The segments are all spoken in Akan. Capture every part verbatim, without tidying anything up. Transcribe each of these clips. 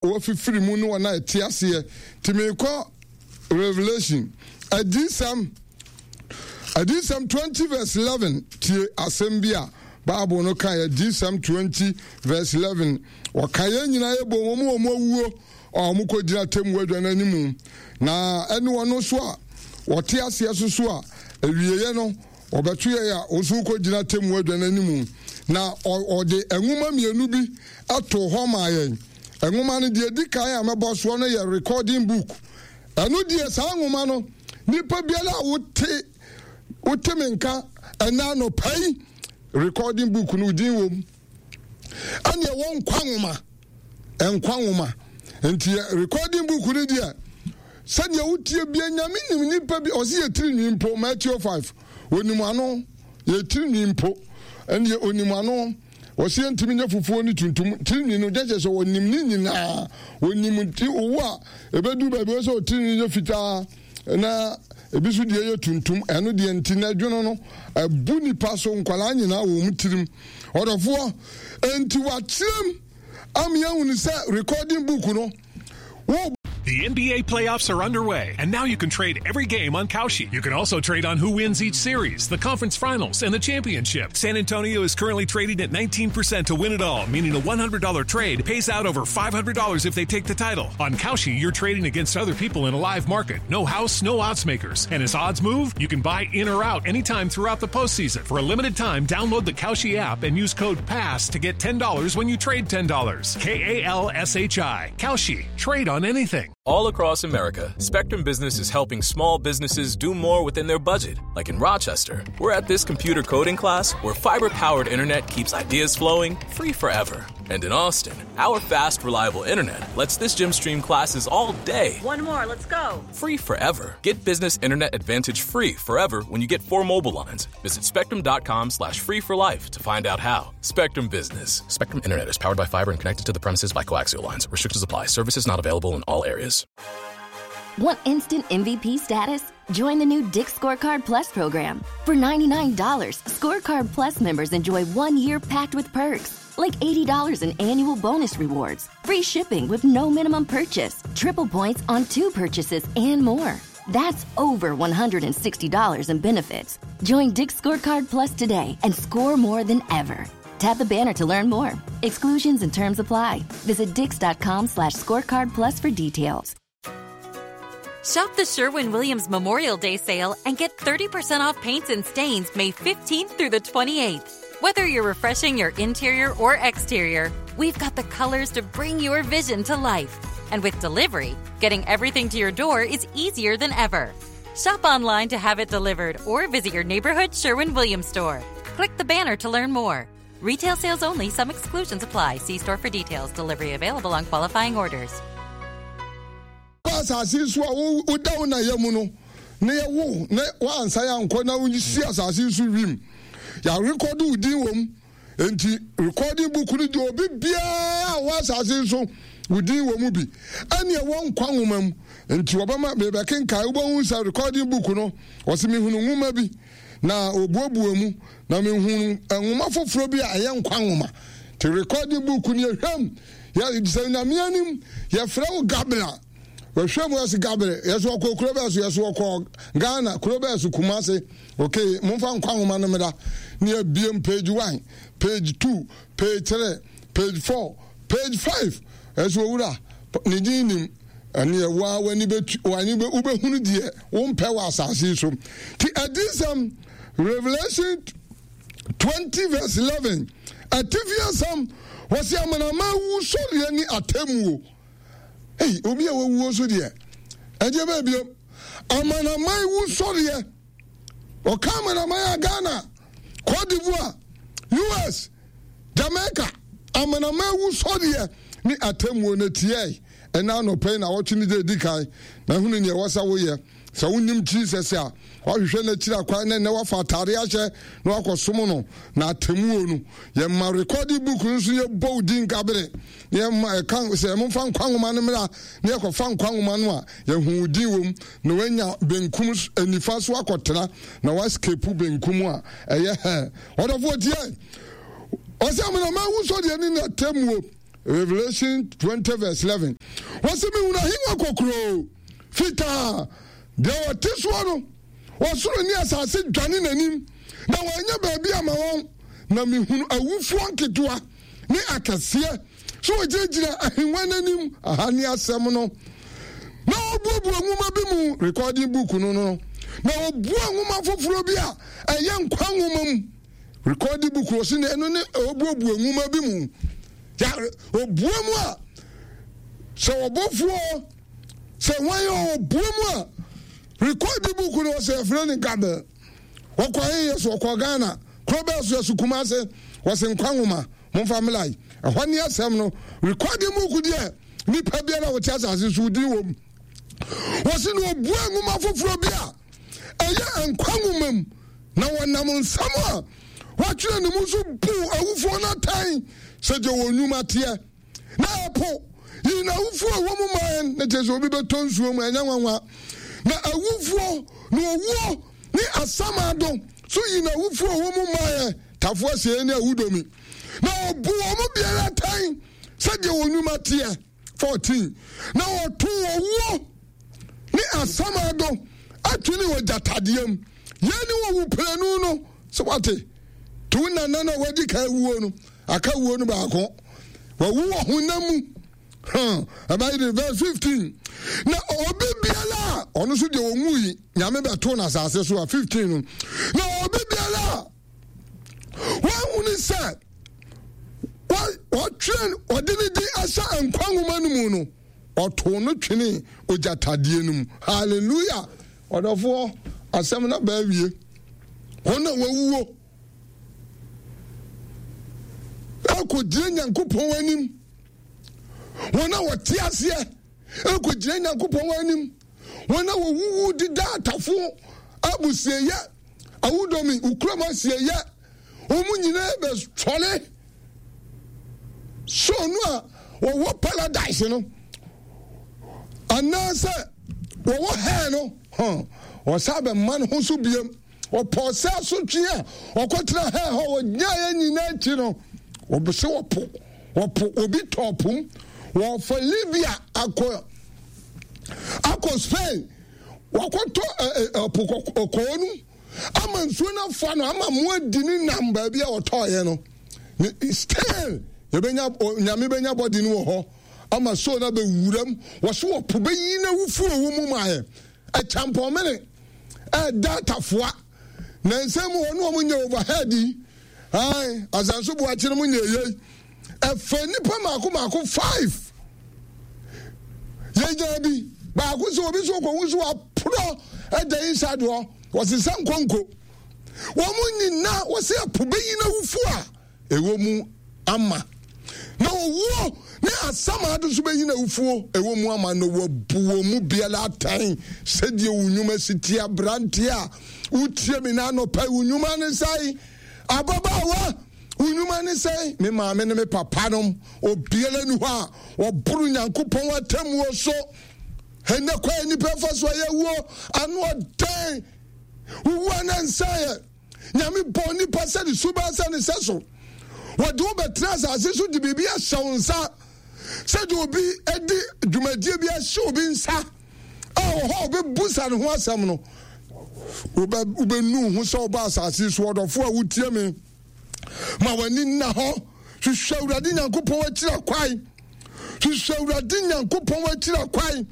Wɔfifiri mu ne wɔn a ɛte aseɛ. Nti merekɔ Revelation, Adiyisɛm, Adiyisɛm twenty verse eleven, tie asɛm bi a Bible no ka, Adiyisɛm twenty verse eleven, wɔka yɛn nyinaa yɛbɔ wɔn mu wɔn awuo a wɔn kɔgyina atemmuo adwa no anim, na ɛne wɔn nso a wɔte aseɛ so so a awieeɛ no wɔbɛto yɛn a wɔn nso kɔgyina atemmuo adwa no anim. Na ɔde nwoma mmienu bi too hɔ maa yɛn. Nwoma no deɛ ɛdi kan a mɛbɔ soɔ no yɛ recording book. Ɛno deɛ, saa nwoma no, nipa biara a wote wote me nka ɛna anɔpa yi, recording book no din wɔ mu. Ɛne ɛwɔ nkwa nwoma, nkwa nwoma. Nti recording book no deɛ, sɛdeɛ wotie bia, Nyame nim nipa bi, ɔse yɛ tiri nwi mpo, Matthew five, onim ano, yɛ tiri nwi mpo, ɛneɛ onim ano. Wɔsi yɛntumi nyɛ fufuo ne tuntum tiri nwi no, gyɛkyɛ sɛ wɔnim ne nyinaa, wɔnim nti owu a ɛbɛdu baabi wɔ sɛ ɔtiri nwi yɛ fitaa na ebi so deɛ yɛ tuntum. Ɛno deɛ nti na ɛdwono no ɛbu nipa so, nkwadaa nyinaa wɔ wɔn tirim. Ɔdɔfoɔ, nti wakyerɛm ama yɛahunu sɛ recording book no wo The N B A playoffs are underway, and now you can trade every game on Kalshi. You can also trade on who wins each series, the conference finals, and the championship. San Antonio is currently trading at nineteen percent to win it all, meaning a one hundred dollar trade pays out over five hundred dollars if they take the title. On Kalshi, you're trading against other people in a live market. No house, no odds makers. And as odds move, you can buy in or out anytime throughout the postseason. For a limited time, download the Kalshi app and use code PASS to get ten dollars when you trade ten dollars. K A L S H I. Kalshi. Trade on anything. All across America, Spectrum Business is helping small businesses do more within their budget. Like in Rochester, we're at this computer coding class where fiber powered internet keeps ideas flowing free forever. And in Austin, our fast, reliable internet lets this gym stream classes all day. One more, let's go. Free forever. Get business internet advantage free forever when you get four mobile lines. Visit spectrum dot com slash free for life to find out how. Spectrum Business. Spectrum Internet is powered by fiber and connected to the premises by coaxial lines. Restrictions apply. Services not available in all areas. Want instant M V P status? Join the new Dick's Scorecard Plus program. For ninety-nine dollars, Scorecard Plus members enjoy one year packed with perks, like eighty dollars in annual bonus rewards, free shipping with no minimum purchase, triple points on two purchases, and more. That's over one hundred sixty dollars in benefits. Join Dick's Scorecard Plus today and score more than ever. Tap the banner to learn more. Exclusions and terms apply. Visit dicks dot com slash scorecard plus for details. Shop the Sherwin Williams Memorial Day sale and get thirty percent off paints and stains May fifteenth through the twenty-eighth. Whether you're refreshing your interior or exterior, we've got the colors to bring your vision to life. And with delivery, getting everything to your door is easier than ever. Shop online to have it delivered or visit your neighborhood Sherwin Williams store. Click the banner to learn more. Retail sales only, some exclusions apply. See store for details. Delivery available on qualifying orders. Asase so a woda wo na yɛ mu no na yɛwo na woansa yɛ ankɔ na wosi asase so wim, yɛarekɔde wo din wɔ mu. Nti recording book no deɛ, obi biara a wɔ asase so, wo din wɔ mu bi. Ɛne ɛwɔ nkwa nwoma mu. Nti wɔbɛma mebɛkenkae, wobɛhu sɛ recording book no, ɔsɛ mehunu nwoma bi na obuebue mu na mehunu nwoma foforɔ bi a ɛyɛ nkwa nwoma. Nti recording book no, yɛhwɛm yɛ sɛ Nyame anim yɛfrɛ wo Gabriel, wɔhwɛ mu yɛsɛ Gabriel, yɛsɛ ɔkɔ kuro bɛɛ so, yɛsɛ ɔkɔ Ghana kuro bɛɛ so, Kumase. Ok, momfa nkwa nwoma no mmra ne yɛbiem page one, page two, page three, page four, page five, ɛsɛ owura ne din nim. Ɛne ɛwɔ w'ani bɛtu, w'ani bɛ wobɛhunu deɛ wompɛ wɔ asase yi so. Ti Adiyisɛm, Revelation twenty verse eleven, atifi asɛm, wɔsi amanama wusɔreɛ ne atemmuo. Ei, obi a wawuo so deɛ, ɛdeɛ bɛɛ biom, amanaman wusɔreɛ. Ɔka amanaman a, Ghana, Cote d'Ivoire, U S, Jamaica, amanaman wusɔreɛ ne atemmuo no tiɛ. Ɛna anɔpɛ yi na wɔtwe ne de edi kan na ehunu nea ɛwɔ sɛ woyɛ. Sɛ wonim Jesus a, wahwehwɛ n'akyiri akwan na ɛnɛ wafa atare ahyɛ na wakɔsom no. Na atemmuo no, yɛma recording book no nso, yɛbɔ wo din Gabere na yɛma ɛka sɛ momfa nkwa nwoma no mmra, na yɛkɔfa nkwa nwoma no a, yɛhu wo din wɔ mu na wanya benkum nifa so akɔtena na waskepu benkum a ɛyɛ hɛ. Ɔdɔfoɔ, tie, ɔsɛ amanama wusɔdeɛ ne n'atemmuo. Revelation twenty verse eleven. Wɔsi mehunu ahengua kokuroo fitaa, deɛ ɔte soɔ no, ɔsoro ne asase dwane n'anim, na wɔanya baabi ama wɔn. Na mehunu awufoɔ nketewa ne akɛseɛ sɛ wɔgyinagyina ahengua no anim. Aha ne asɛm no. Na wɔbuebue nwoma bi mu, recording book no no, na wɔbua nwoma foforɔ bi a ɛyɛ nkwa nwoma mu. Recording book wɔ so na ɛno ne wɔbuebue nwoma bi mu. Ya obue mu a, sɛ ɔbɔfoɔ sɛ wɔn yɛ ɔbue mu a, recording book no wɔsɛ yɛfrɛ no Gabel. Wɔkɔ he yɛ so ɔkɔ Ghana kuro bɛɛ so yɛ so Kumase, wɔsɛ nkwa nwoma momfa mmla yi. Ɛhɔ ne asɛm no. Recording book deɛ nipa biara a wɔte asase so din wɔ mu. Wɔsi na obue nwoma foforɔ bi a ɛyɛ nkwa nwoma mu, na wɔnam nsɛm a wɔatwerɛ ne mu so buu awufoɔ no atɛn sɛdeɛ wɔn nnwuma teɛ. Na ɛpo yi na awufoɔ a ɛwɔ mu maa yɛn, na kyerɛ sɛ obi bɛtɔ nsuo mu ɛnyɛ nwanwa. Na awufoɔ na owuo ne asamado so yi na awufoɔ a ɛwɔ mu maa yɛn, tafoɔ asie ne awudomi. Na ɔbu wɔn mu biara atɛn sɛdeɛ wɔn nnwuma teɛ. fourteen Na wɔto owuo ne asamado atwene wɔ gyatadeɛ mu. Yɛn ne wɔwu prenu no, sɛ wate to nana no a wadi ka wuo no, aka wuo no baako, wawu wɔ honam mu. Ɛbɛyɛ de verse fifteen Na obi biara a ɔno nso deɛ ɔnwu yi, Nyame bɛto no asase so a. fifteen no Na obi biara a wɔahunu sɛ wɔtwerɛ ɔde ne din ahyɛ nkwa nwoma no mu no, ɔtoo no twene ogyatadeɛ no mu. Hallelujah! Ɔdɔfoɔ, asɛm no aba awie. Wɔn a wɔawuo ɛkɔgyina Nyankopɔn anim, wɔn a wɔte aseɛ ɛkɔgyina Nyankopɔn anim, wɔn a wɔwuwu deda atafo abusieyɛ awudomi ukurom asieyɛ, wɔn nyinaa bɛsɔre. So no a wɔwɔ paradise no anaasɛ wɔwɔ hell no, wɔsa bɛma no ho so biam. Ɔpɔɔ sɛ asotwe a ɔkɔtena hell hɔ wɔnyaeɛ nyinaa akyi no, wɔbɛsɛ wɔpo wɔpo obi tɔɔ pom, wɔfa Libya akɔ akɔ Spain, wɔakɔtɔ ɛpo kɔkɔɔ no ama nsuo no afa no ama mo adi ne nam baabi a wɔtɔɔyɛ no. Still yɛbɛnya Nyame bɛnya bɔde no wɔ hɔ ama so no abɛwuram. Wɔso wɔpo bɛyi no awufuo wɔ mu ma yɛ ɛkyampɔmene ɛda atafoa na nsɛm mu wɔne wɔn nyɛ overhead yi. Ae, asanso boakye no mu nyɛ yei. Ɛfɛ nipa mako mako five yɛnya bi baako sɛ obi so kɔhu so waporɔ ɛda inside hɔ, wɔsesa nkonko wɔn nyinaa. Wɔsɛ ɛpo bɛyi no awufo a ɛwɔ mu ama, na owuo ne asamado nso bɛyi no awufoɔ ɛwɔ mu ama, na wɔabu wɔn mu biara atɛn sɛdeɛ wo nnwuma si tie. Aberanteɛ a wotie me na anɔpa, wo nnwuma ne sɛe? Ababaawa, wo nnwuma ne sɛe? Me maame ne me papa nom, obiara ni hɔ a wɔboro Nyankopɔn atemmuo so. Ɛnɛ kwan nipa fa so a yɛwuo ano ɔdɛn, wowu ana nsaeɛ. Nyame bɔ nipa sɛ ne suban sɛ ne sɛ so. Wɔde wo bɛtena asase so de biribi ahyɛ wo nsa, sɛdeɛ obi de dwumadie bi ahyɛ obi nsa a wɔ hɔ a wobɛbusa ne ho asɛm no, wobɛnu ho sɛ wobɔ asase so. Ɔdɔfo a wotie me, ma w'ani nna hɔ. Hwehwɛ Awurade Nyankopɔn akyira kwan. Hwehwɛ Awurade Nyankopɔn akyira kwan.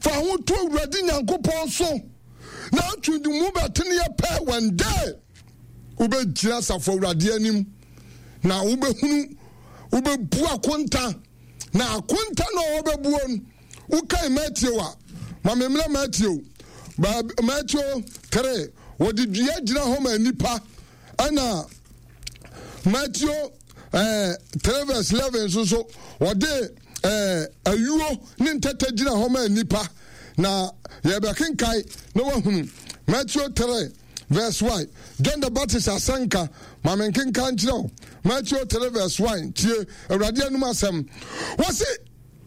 Fa ho to Awurade Nyankopɔn so na atwe de mu bɛteneɛ pɛ. One day wobɛgyina asafo Awurade anim na wobɛhunu, wobɛbu akonta, na akonta no a wɔbɛbuo no, wokae Matthew a, ma memmerɛ Matthew, Matthew three, wɔde dua gyina hɔ ma nnipa, ɛna Matthew eh, three verse eleven nso so wɔde eh, ayuo ne ntɛtɛ gyina hɔ ma nnipa. Na yɛbɛkenkae na wahunu Matthew three verse one, John the Baptist asɛnka. Ma menkenka nkyerɛ wo Matthew three verse one. Tie Awurade anum asɛm. Wɔse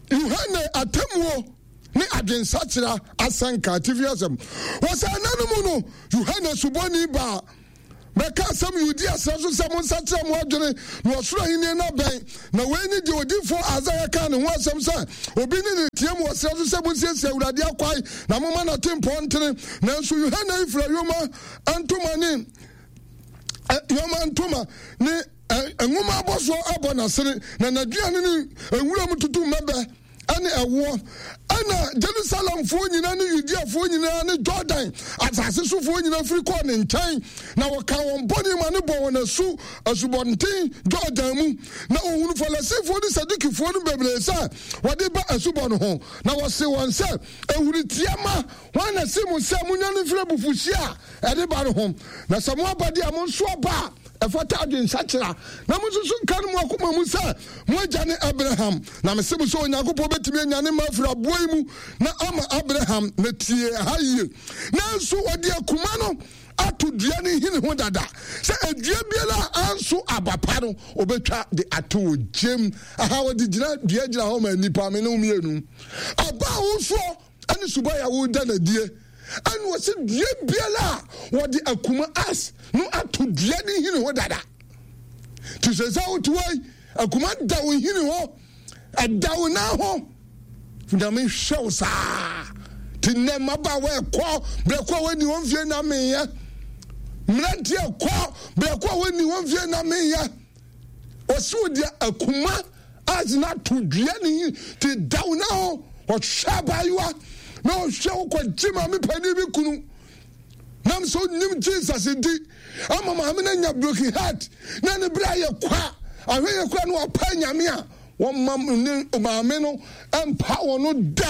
Yohane atemmuo ne adwensakyera asɛnka, atifi asɛm. Wɔsɛ ɛna no mu no, Yohane Suboni baa Bɛka asɛm Yudea serɛ so sɛ, Monsakyera mo adwene, na ɔsoro ahennie no abɛn. Na wei ne deɛ odiyifoɔ Isaia kaa ne ho asɛm sɛ, Obi nne reteam wɔ serɛ so sɛ, 'Monsiesie Awurade akwan, na momma n'atempɔn ntene. Nanso Yohane yi fira yoma ntoma ne yoma ntoma ne nwoma abɔsoɔ abɔ n'asene, na n'aduane ne nwuram tutummɛbɛ ne ɛwoɔ. Ɛnna Jerusalemfoɔ nyinaa ne Yudeafoɔ nyinaa ne Jordan asase sofoɔ nyinaa firi kɔɔ ne nkyɛn, na wɔkaa wɔn bɔne ma no bɔɔ wɔn asu asubɔnten Jordan mu. Na wɔhunu Farisifoɔ ne Sadukifoɔ no bebree sɛ wɔde ba asubɔ no ho, na wɔsee wɔn sɛ, Ahuritia mma, hwan na se mo sɛ monnwane mfiri abufuhyeɛ a ɛde ba no ho? Na sɛ moaba deɛ a, monso aba a ɛfata adwensakyera, na monsusu nka no mo akoma mu sɛ, Mo agya ne Abraham. Na mese mo sɛ Onyankopɔn bɛtumi anya ne mma afiri aboɔ yi mu na ama Abraham. Na tie ha yie. Nanso wɔde akuma no ato dua no nhini ho dada, sɛ dua biara a anso aba pa no, wɔbɛtwa de ato ogyam. Aha wɔde gyina dua gyina hɔ ma nnipa, me ne wo mmienu. Aba a wosoɔ ne suban a woda no adie. Ɛna wɔsi dua biara a wɔde akuma as no ato dua no nhini ho dada. Te sɛ sɛ wote hɔ yi, akuma da wo nhini hɔ, ɛda wo nan ho. Nyame hwɛ wo saa. Te nnɛ mmabaawa ɛkɔ berɛ kɔ a wɔnni wɔn mfie na meyɛ. Mmeranteɛ kɔ berɛ kɔ a wɔnni wɔn mfie na meyɛ. Ɔsi wo deɛ akuma as na to dua ne te da wo nan ho. Ɔhwɛ abaayewa na ɔhwɛ wo kɔgye maame panin bi kunu. Nam sɛ onim Jesus nti ama maame no anya broken heart na ne bere ayɛ kwa. Ahwɛ yɛ kura no wapa nyame a wɔma ne maame no mpa wɔn no da.